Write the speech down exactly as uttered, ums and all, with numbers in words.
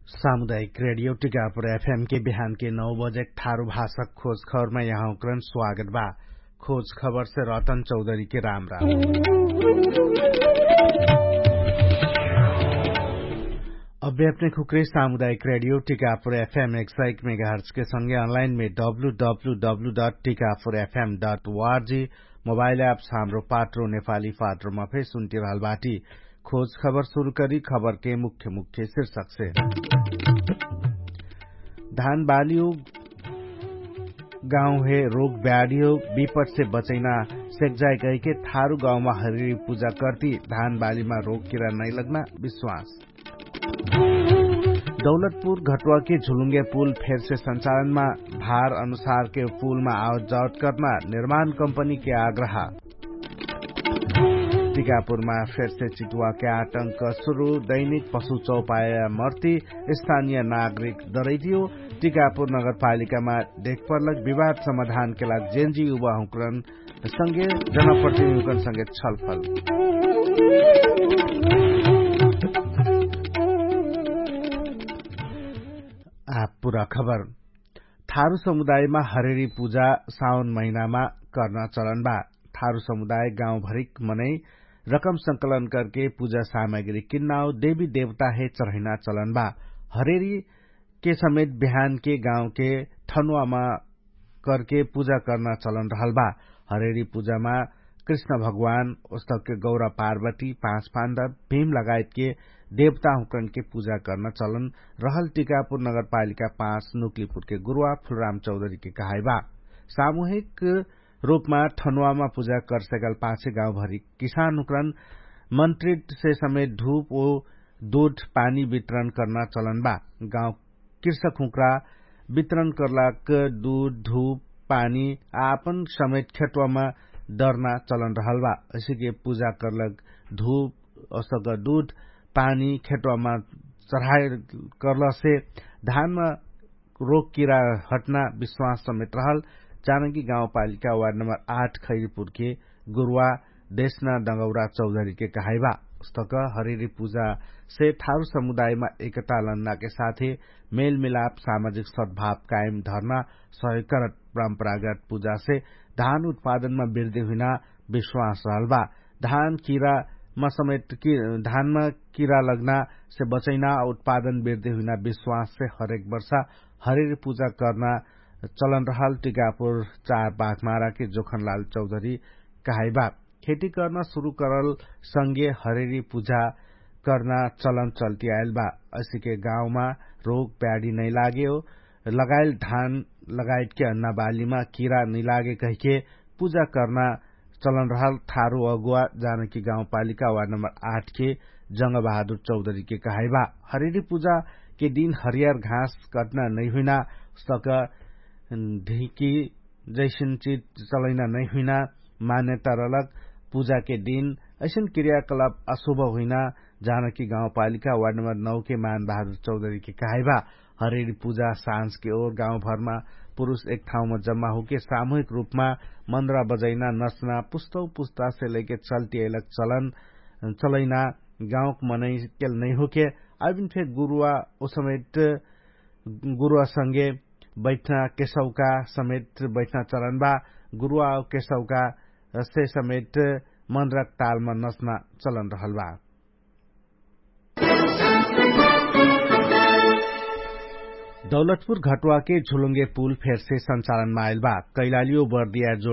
सामुदायिक रेडियो टिकापुर एफएम के बिहान के नौ बजे ठारु भाषक खोज खबरमा यहाँकरण स्वागत बा। खोज खबर से रतन चौधरी के राम राम। अभ्याप्ने खुक्रे सामुदायिक रेडियो टिकापुर एफएम एक सय एक मेगाहर्च के संगे अनलाइन मे W W W dot Tikapur FM dot वार्जी मोबाइल एप्स हाम्रो पात्रो नेपाली पात्रोमा फेर सुन्टिरहल बाटी। खोज खबर सुरु करी खबर के मुख्य मुख्य शीर्षक से। धान बालियो गाउँ हे रोग ब्याडियो विपट से बचैना सेक्जाइ गइके थारु गाउँमा हरिरी पुजा कर्ती धान बालिमा रोग किरा नैलग्ना विश्वास। दौलतपुर घटुवाके झुलुङ्गे पुल फेरसे सञ्चालनमा भार अनुसारके पुलमा आवत जावत कर्ना निर्माण कम्पनीके आग्रह। टिकापुरमा फेरसे चितुवाके आटंक सुरु दैनिक पशु चौपाया मर्ति स्थानिय नागरिक दरैतियो। टिकापुर नगरपालिकामा देखपर्लक विवाद समाधानके लाग जेन्जी युवाहुँकरन संगे जनप्रतिनिधिकन संगे छलफल। आ पुरा खबर। थारु समुदायमा हरेरी पुजा साउन महिनामा कर्ना चलन बा। थारु समुदाय गाउँभरिक मनै रकम संकलन करके पुजा सामग्री किन्नाओ देवी देवता हे चढैना चलन बा। हरेरी के समेत बिहानके गाउँके ठनुवामा करके पुजा कर्ना चलन रहल बा। हरेरी पुजामा कृष्ण भगवान ओस्तके गौरा पार्वती पाँच पान्दा भीम लगायतके देवताहुँकनके पुजा कर्ना चलन रहल टिकापुर नगरपालिका पाँच नुक्लिपुरके गुरुवा फुलराम चौधरीके कहाइबा। सामुहिक रूपमा ठनुवामा पुजा करसेकल पाछे गाउँभरि किसानहुँकरन मन्त्रितसे समेत धूप ओ दुध पानी वितरण कर्ना चलन बा। गाउँ कृषकहुँक्रा वितरण कर्लाक दुध धूप पानी आपन समेत खेतवामा दर्ना चलन रहल बा। असिके पुजा कर्लक धूप असक दुध पानी खेतवामा चढाए कर्लसे धानमा रोग किरा हट्ना विश्वास समेत रहल। जानकी गाउँपालिका वार्ड नम्बर आठ खैरीपुरके गुरुवा देशना डगौरा चौधरीके कहाइबा। उस्तक हरेरी पुजासे थारु समुदायमा एकता लन्नाके साथे मेलमिलाप सामाजिक सद्भाव कायम धर्ना सहयोग करत परम्परागत पुजासे धान उत्पादनमा वृद्धि हुइना विश्वास रहल बा। धान किरामा समेत धानमा किरा लग्नासे बचैना उत्पादन वृद्धि हुइना विश्वाससे हरेक वर्षा हरेरी पुजा कर्ना चलन रहल टिकापुर चार बाघमाराके जोखनलाल चौधरी कहाइबा। खेती कर्ना सुरु करल संगे हरेरी पुजा कर्ना चलन चल्ति आइल बा। असिके गाउँमा रोग प्याडी नैलागे हो लगाइल धान लगाइटके अन्नाबालीमा किरा नैलागे कहिके पुजा कर्ना चलन रहल थारु अगुवा जानकी गाउँपालिका वार्ड नम्बर आठके जङ्गबहादुर चौधरीके कहाइबा। हरेरी पुजाके दिन हरियर घाँस कट्ना नैहुइना सक ढिकी जैसन चिज चलैना नैहुइना मान्यता रहलक। पुजाके दिन ऐसन क्रियाकलाप अशुभ हुइना जानकी गाउँपालिका वार्ड नम्बर नौके मान बहादुर चौधरीके कहाइबा। हरेरी पुजा साँझके ओर गाउँभरमा पुरुष एक ठाउँमा जम्मा होके सामुहिक रूपमा मन्द्रा बजैना नच्ना पुस्तौ पुस्तासे लैके चल्ति अइलक चलन चलैना गाउँक मनैकेल नैहोके अबिन फेक गुरुवा ओसमेट गुरुवा संगे बैठना केसौका समेत बैठना चलन बा। गुरुवा केसौका से समेत मन्द्रा तालमा नच्ना चलन रहल बा। दौलतपुर घटुवाके झुलुङ्गे पुल फेरसे सञ्चालनमा आइल बा। कैलालियो बर्दिया